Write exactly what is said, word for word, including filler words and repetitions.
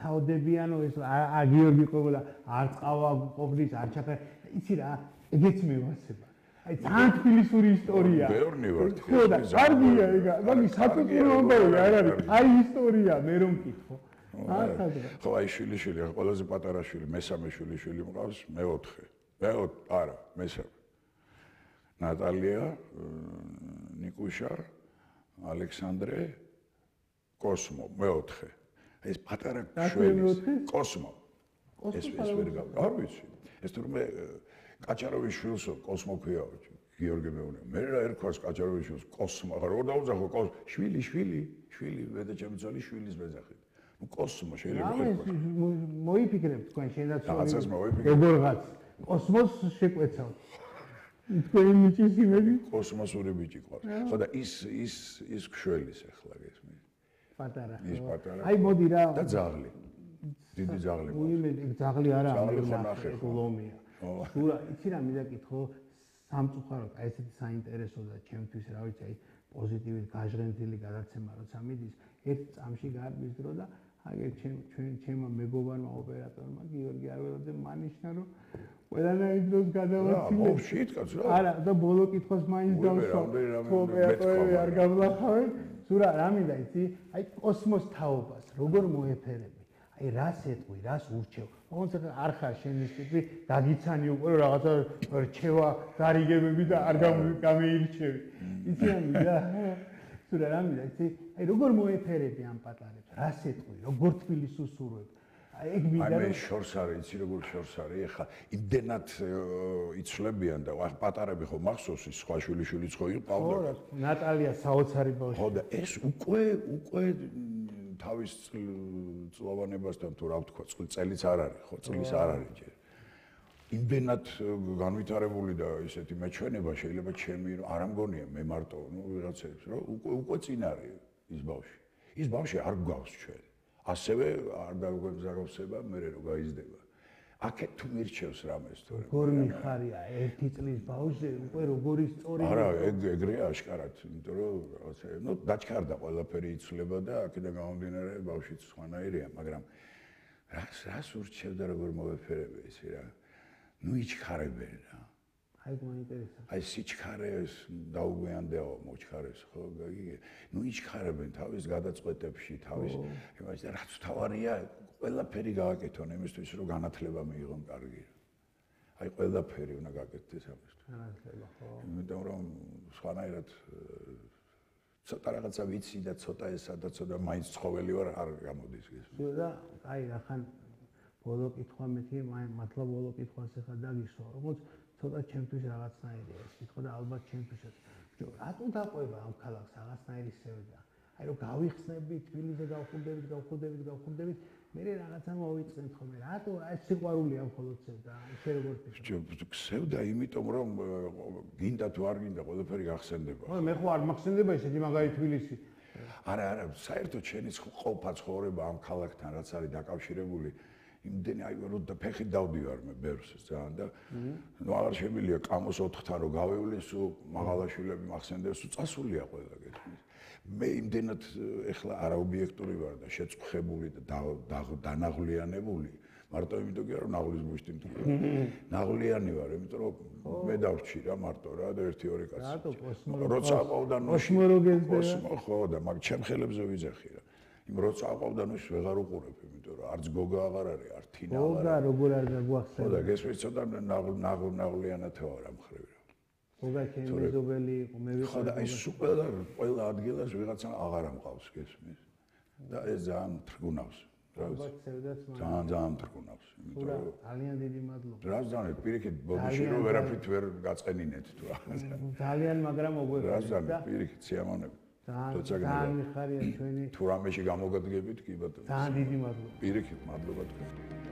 ჩავდებიანო ეს ა გიორგი ყოლა არ წავა ყოფნის არ ჩაფე იცი რა ეგეც მევასება აი ძალიან თბილისური ისტორია ბევრნი ვარ ხო და კარგია ეგა მაგის საწუწუნო ამბავი არ არის აი ისტორია მე რომ მკითხო ხო აი შვილიშვილი ყველაზე პატარა შვილი მესამე შვილიშვილი მყავს მეოთხე მეოთხე არა მესამე ნატალია ნიკუშა ალექსანდრე კოსმო მეოთხე ეს პატარა შვილი კოსმო ეს ეს ვერ არ ვიცი ეს თურმე კაჭაროვის შვილსო კოსმო ქვია გიორგი მეუნე მე რა ერქვას კაჭაროვის შვილს კოსმო რა რო დაუძახო შვილი შვილი შვილი მე და ჩემი ძალი შვილის მეძახით ნუ კოსმო შეიძლება ერქვა მოიფიქრებ თქვენ შენაცვლად რაღაცას მოიფიქრებ როგორღაც კოსმოს შეკვეცავ თქვენი მიჭის იმები კოსმოსური ბიჭი ყავს ხო და ის ის ის ქშველის ახლა გესმის პატარა ის პატარა აი მოდი რა და ძაღლი დიდი ძაღლი ყავს უიმე ძაღლი არა ლომია სულ იცი რა მიდაკითხო სამწუხაროდ აი ესეთი საინტერესო და ჩემთვის რა ვიცი აი პოზიტივით გაჟღენთილი გადაცემა როცა მიდის ერთ წამში გარბის დრო და აგერ ჩვენ ჩემმა მეგობარმა ოპერატორმა გიორგი არველაძე მანიშნა რომ ყველანაირ დროს გადავაცილე მოვშით კაცო არა და ბოლო კითხვას მაინც დავსვა ოპერატორები არ გამლახავენ სულ რა მინდა იცი აი კოსმოს თაობას როგორ მოეფერები აი რას ეტყვი, რას ურჩევ. ოღონდ არ ხარ შენის ტიპი, დაგიცანი უკვე რაღაცა რჩევა, გარიგებები და არ გამეირჩევი. იცი ამიდა? სულ რა მინდა, იცი? აი როგორ მოეფერები ამ პატარებს? რას ეტყვი, როგორ თბილის უსურვებ? აი ეგ მინდა რომ აი მე შორს არის, იცი როგორ შორს არის? ეხლა იმდენად იცვლებიან და პატარები ხო მახსოვს ის სხვა შვილიშვილიც ხო იყავდა? ხო, ნატალია საოცარი ბავშვი. ხო და ეს უკვე უკვე თავის წლოვანებასთან თუ რა ვთქვა, წელიც არ არის, ხო, წლის არ არის ჯერ. იმდენად განვითარებული და ისეთი მეჩვენება შეიძლება ჩემი არ ამგონია მე მარტო, ნუ ვიღაცებს, რომ უკვე უკვე წინ არის ის ბავშვი. ის ბავშვი არ გვგავს ჩვენ. ასევე არ დაგვემზაროვსება მე რო გაიზრდება. აქეთ თუ მირჩევს რამეს თორე. როგორ მიხარია ერთი წლის ბავშვზე უკვე როგორი სწორი არა, ეგ ეგრეა აშკარად, იმიტომ რომ რაღაცა, ნუ დაჩქარდა ყველაფერი იცვლება და აქედან გამომდინარე ბავშვიც სხვანაირია, მაგრამ რას რას ურჩევ და როგორ მოვეფერები ისი რა. ნუ იჩქარებენ რა. აი გვაინტერესებს. აი სიჩქარეს დაუგვიანდეო მოჩქარეს ხო გიგე. ნუ იჩქარებენ თავის გადაწყვეტებში, თავის იმას და რაც თავარია ყველაფერი გააკეთონ იმისთვის რომ განათლება მიიღონ კარგი. აი ყველაფერი უნდა გაკეთდეს ამისთვის. განათლება ხო. იმიტომ რომ სხვანაირად ცოტა რაღაცა ვიცი და ცოტა ესა და ცოტა მაინც ცხოველი ვარ არ გამოდის ეს. და აი ახან ბოლო კითხვა მეთი მართლა ბოლო კითხვას ახლა დაგისვა როგორც ცოტა ჩემთვის რაღაცნაირია ეს კითხვა და ალბათ ჩემთვისაც. რატომ დაყვება ამ ქალაქს რაღაცნაირი სევდა? აი რომ გავიხსნები თბილისზე გავხურდებით, გავხურდებით, გავხურდებით, მე რაღაცა მოვიწყენთ ხოლმე. რატო ეს სიყვარულია მხოლოდ სევდა? შე როგორ ფიქრობ? სევდა იმიტომ რომ გინდა თუ არ გინდა ყველაფერი გახსენდება. ხო მე ხო არ მახსენდება ისეთი მაგარი თბილისი. არა, არა, საერთოდ შენი ყოფა ცხოვრება ამ ქალაქთან რაც არის დაკავშირებული იმდენი აი რომ და ფეხით დავდივარ მე ბერს ძალიან და ნუ აღარ შემილია კამოს ოთხთან რომ გავევლე სულ მაღალაშვილები მახსენდებს სულ წასულია ყველა გეთქმის მე იმდენად ეხლა არაობიექტური ვარ და შეწყხებული და დანაღლიანებული მარტო იმიტომ კი რომ ნაღლის მუშტი მტკი ნაღლიანი ვარ იმიტომ რომ მე დავრჩი რა მარტო რა და ერთი ორი კაცი რატო კოსმო როცა აყავდა კოსმო როგეზდა კოსმო ხო და მაგ ჩემ ხელებზე ვიძახი რა იმ როცა აყავდა ნუ ვეღარ უყურებ იმიტომ რომ არც გოგა აღარ არის არ თინა აღარ გოგა როგორ არ გაგვახსენდა ხო და გესმის ცოტა ნაღლ ნაღლიანად ვარ ამ ხრივ რა გოგა ჩემი მეზობელი იყო მე ვიყავ ხო და აი სულ ყველა ყველა ადგილას ვიღაცა აღარ ამყავს გესმის და ეს ძალიან თრგუნავს ალბათ სევდაც მაგრამ ძალიან ძალიან თრგუნავს იმიტომ რომ ძალიან დიდი მადლობა რა ზანე პირიქით ბოდიში რომ ვერაფრით ვერ გაწყენინეთ თუ რა ძალიან მაგრამ მოგვეყვა რა ზანე პირიქით სიამოვნები ძალიან მიხარია ჩვენი თუ რამეში გამოგადგებით კი ბატონო ძალიან დიდი მადლობა პირიქით მადლობა თქვენ